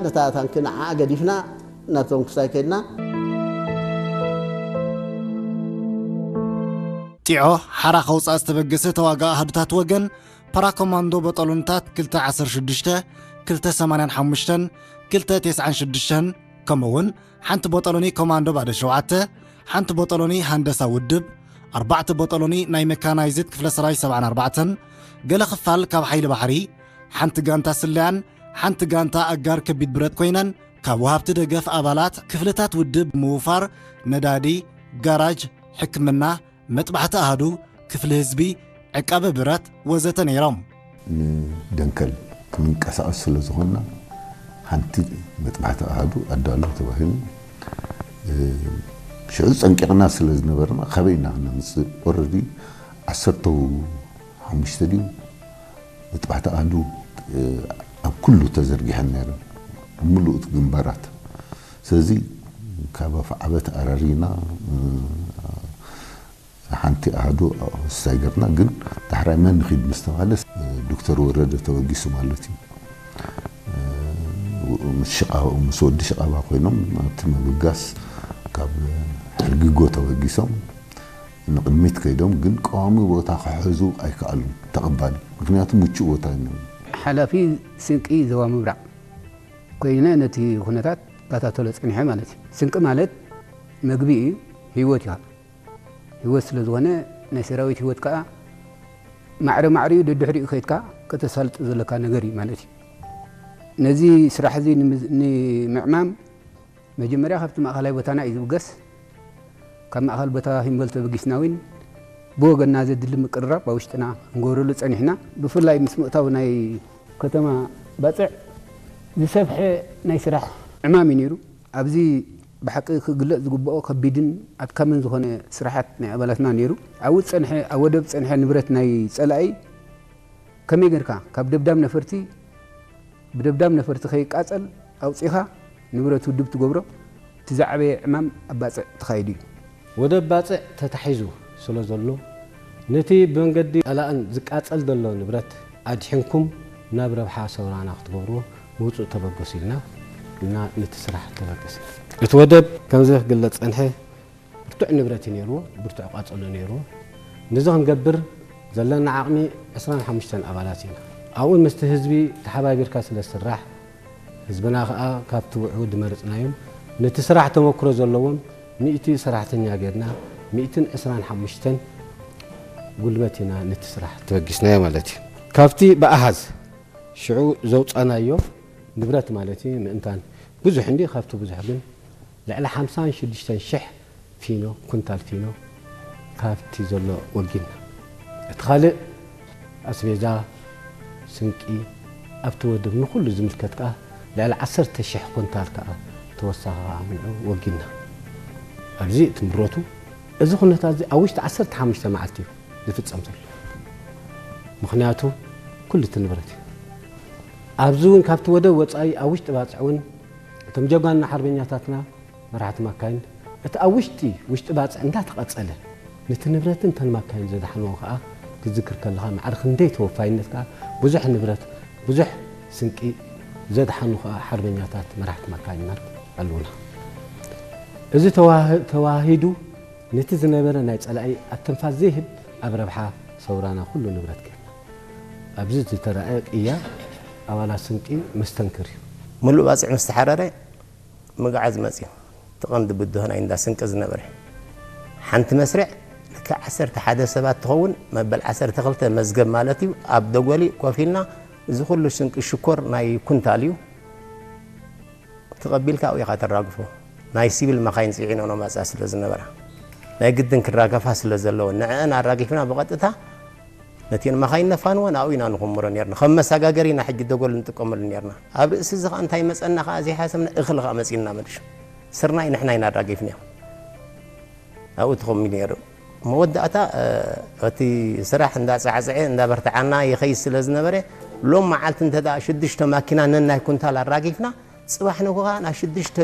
ነታ ታንኪ ንዓኣ ገዲፍና ናብቶም ክሳይ ከድና። ጢዖ ሓራ ከውፅኣ ዝተበገሰ ተዋጋ ኣሃዱታት ወገን ፓራኮማንዶ በጠሎንታት ክልተ ዓሰርተ ሽዱሽተ፣ ክልተ ሰማንያን ሓሙሽተን፣ ክልተ ተስዓን ሽዱሽተን፣ ከምኡ እውን ሓንቲ በጠሎኒ ኮማንዶ ባዶ ሸውዓተ፣ ሓንቲ በጠሎኒ ሃንደሳ ውድብ፣ ኣርባዕተ በጠሎኒ ናይ መካናይዝድ ክፍለ ሰራዊት ሰብዓን ኣርባዕተን፣ ገለ ክፋል ካብ ሓይሊ ባሕሪ፣ ሓንቲ ጋንታ ስለያን ሓንቲ ጋንታ ኣጋር ከቢድ ብረት ኮይነን፣ ካብ ወሃብቲ ደገፍ ኣባላት ክፍልታት ውድብ ምውፋር ነዳዲ፣ ጋራጅ፣ ሕክምና፣ መጥባሕቲ ኣሃዱ፣ ክፍሊ ህዝቢ፣ ዕቃበ ብረት ወዘተ ነይሮም። ንደንከል ክንንቀሳቐስ ስለ ዝኾንና ሓንቲ መጥባሕቲ ኣሃዱ ኣዳሎ ተባሂሉ። ሽዑ ጸንቂቕና ስለ ዝነበርና ካበይ ኢና ክነምፅእ? ኦረዲ ዓሰርተ ሓሙሽተ ድዩ መጥባሕቲ ኣሃዱ ኣብ ኩሉ ተዘርጊሐን ነይረን፣ ኣብ ምሉእ እቲ ግንባራት። ስለዚ ካብ ኣፍዓበት ኣራሪና ሓንቲ ኣሃዱ ሳይገርና፣ ግን ዳሕራይ መን ንኺድ ምስ ተባለ ዶክተር ወረደ ተበጊሱ ማለት እዩ። ምስ ሽቓ-፣ ምስ ወዲ ሽቓባ ኮይኖም ኣብቲ ምብጋስ ካብ ሕርጊጎ ተበጊሶም ንቕድሚት ከይዶም፣ ግን ቀዋሚ ቦታ ክሕዙ ኣይከኣሉን። ተቐባሊ፣ ምክንያቱ ምቹእ ቦታ ኣይነበረን። ሓላፊ ስንቂ ዞባ ምብራቕ ኮይነ ነቲ ኩነታት እከታተሎ ጸኒሐ ማለት እዩ። ስንቂ ማለት መግቢ እዩ፣ ህይወት እዩ። ህይወት ስለ ዝኾነ ናይ ሰራዊት ህይወት ከኣ ማዕረ ማዕሪኡ ደድሕሪኡ ከይድካ ከተሳልጦ ዘለካ ነገር እዩ ማለት እዩ። ነዚ ስራሕ እዚ ንምዝ-፣ ንምዕማም መጀመርያ ካብቲ ማእኸላይ ቦታና እዩ ዝብገስ። ካብ ማእኸል ቦታ ሂምበል ተበጊስና እውን ብወገንና ዘድሊ ምቅርራብ ኣብ ውሽጥና ክንገብረሉ ጸኒሕና። ብፍላይ ምስ ምእታው ናይ ከተማ ባጽዕ ዝሰፍሐ ናይ ስራሕ ዕማም እዩ ነይሩ። ኣብዚ ብሓቂ ክግለጽ ዝግብኦ ከቢድን ኣድካምን ዝኾነ ስራሓት ናይ ኣባላትና ነይሩ። ኣብኡ ዝጸንሐ፣ ኣብ ወደብ ዝጸንሐ ንብረት ናይ ጸላኢ ከመይ ጌርካ ካብ ደብዳብ ነፈርቲ ብደብዳብ ነፈርቲ ከይቃጸል ኣውጺኻ ንብረት ውድብ ትገብሮ፣ እቲ ዝዓበየ ዕማም ኣብ ባጽዕ ተኻይዱ እዩ። ወደብ ባጽዕ ተታሒዙ ስለ ዘሎ፣ ነቲ ብመንገዲ ጸላእን ዝቃጸል ዘሎ ንብረት ኣድሒንኩም ናብ ረብሓ ሰውራና ክትገብርዎ ምውጹእ ተበገሱ ኢልና፣ ኢልና ነቲ ስራሕ ተበገስና። እቲ ወደብ ከምዚ ክግለጽ ጸንሐ፣ ብርቱዕ ንብረት እዩ ነይርዎ፣ ብርቱዕ ቃጸሎ ነይርዎ። ነዚ ክንገብር ዘለና ዓቕሚ ዕስራን ሓሙሽተን ኣባላት ኢና። ኣብኡ ምስቲ ህዝቢ ተሓባቢርካ ስለ ዝስራሕ፣ ህዝብና ከኣ ካብቲ ውዕውድ ዝመረጽናዮም ነቲ ስራሕ ተመክሮ ዘለዎም ሚእቲ ሰራሕተኛ ጌርና፣ ሚእትን ዕስራን ሓሙሽተን ጉልበት ኢና ነቲ ስራሕ ተበጊስናዮ ማለት እዩ። ካብቲ ብኣሃዝ ሽዑ ዘውጻናዮ ንብረት ማለት እዩ፣ ምእንታን ብዙሕ እንዲ፣ ካብቲ ብዙሕ ግን ልዕሊ ሓምሳን ሽዱሽተን ሽሕ ፊኖ፣ ኩንታል ፊኖ ካብቲ ዘሎ ወጊንና። እቲ ካልእ ኣስቤዛ፣ ስንቂ፣ ኣብቲ ወደብ ንኹሉ ዝምልከት ከኣ ልዕሊ ዓሰርተ ሽሕ ኩንታል ከኣ ተወሳኺ ከኣ ምንዑ ወጊንና። ኣብዚ እቲ ንብረቱ፣ እዚ ኩነታት እዚ ኣብ ውሽጢ ዓሰርተ ሓሙሽተ መዓልቲ እዩ ዝፍጸም ዘሎ። ምኽንያቱ ኩሉ እቲ ንብረት እዩ። ኣብዚ እውን ካብቲ ወደብ ወጻኢ ኣብ ውሽጢ ባጽዕ እውን እቶም ጀጋኑና ሓርበኛታትና መራሕቲ ማካይን እቲ ኣብ ውሽጢ፣ ውሽጢ ባጽዕ እንዳተቐጸለ ነቲ ንብረትን እተን ማካይን ዘድሓንዎ ከኣ ክትዝክር ከለኻ ማዕረ ክንደይ ተወፋይነት ከኣ ብዙሕ ንብረት፣ ብዙሕ ስንቂ ዘድሓኑ ከኣ ሓርበኛታት መራሕቲ ማካይናት ኣለዉና። እዚ ተዋህ-፣ ተዋሂዱ ነቲ ዝነበረ ናይ ጸላኢ ኣተንፋስ ዘይህብ ኣብ ረብሓ ሰውራና ኩሉ ንብረት ጌርና። ኣብዚ ዝተራእየ ቅያ ኣባላት ስንቂ መስተንክር እዩ። ምሉእ ባጽዕ ምስ ተሓረረ ምግዓዝ መጽዩ። እቲ ቀንዲ ብድሆ ናይ እንዳ ስንቂ ዝነበረ። ሓንቲ መስርዕ ልክዕ ዓሰርተ ሓደ ሰባት ትኸውን፣ መበል ዓሰርተ ክልተ መዝገብ ማለት እዩ። ኣብ ደጎሊ ኮፍ ኢልና እዚ ኩሉ ስንቂ ሽኮር ናይ ኩንታል እዩ። ተቐቢልካ ኣብኡ ኢኻ ተራግፎ። ናይ ሲቪል መኻይን ጽዒነን መጻ ስለ ዝነበራ ናይ ግድን ክራገፋ ስለ ዘለዎ ንዕአን ኣራጊፍና ብቐጥታ ነቲን መኻይን ነፋንወን ኣብኡ ኢና ንኹምሮ ኔርና። ከም መሰጋገሪ ኢና ሕጂ ደጎል ንጥቀመሉ ኔርና። ኣብ ርእሲ እዚ ኸኣ እንታይ መጸና ኸኣ ዘይሓሰብና እኽሊ ኸኣ መጺእና መሊሹ። ስርናይ ንሕና ኢና ኣራጊፍናዮ። ኣብኡ ተኾሚሉ ነይሩ። መወዳእታ እቲ ስራሕ እንዳጻዕጽዐ እንዳበርትዓና ይኸይድ ስለ ዝነበረ ሎም መዓልቲ እንተ ደኣ ሽዱሽተ ማኪና ነናይ ኩንታል ኣራጊፍና ጽባሕ ንግሆ ከኣ ናብ ሽዱሽተ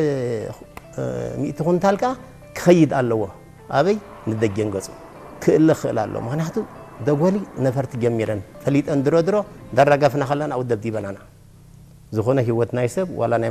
ሚእቲ ኩንታል ከኣ ክኸይድ ኣለዎ። ኣበይ? ንደጀን ገጹ ክእለ ክኽእል ኣለዎ። ምኽንያቱ ደጎሊ ነፈርቲ ጀሚረን ፈሊጠን ድሮ ድሮ እንዳራገፍና ከለና ኣብኡ ደብዲበናና። ዝኾነ ህይወት ናይ ሰብ ዋላ ናይ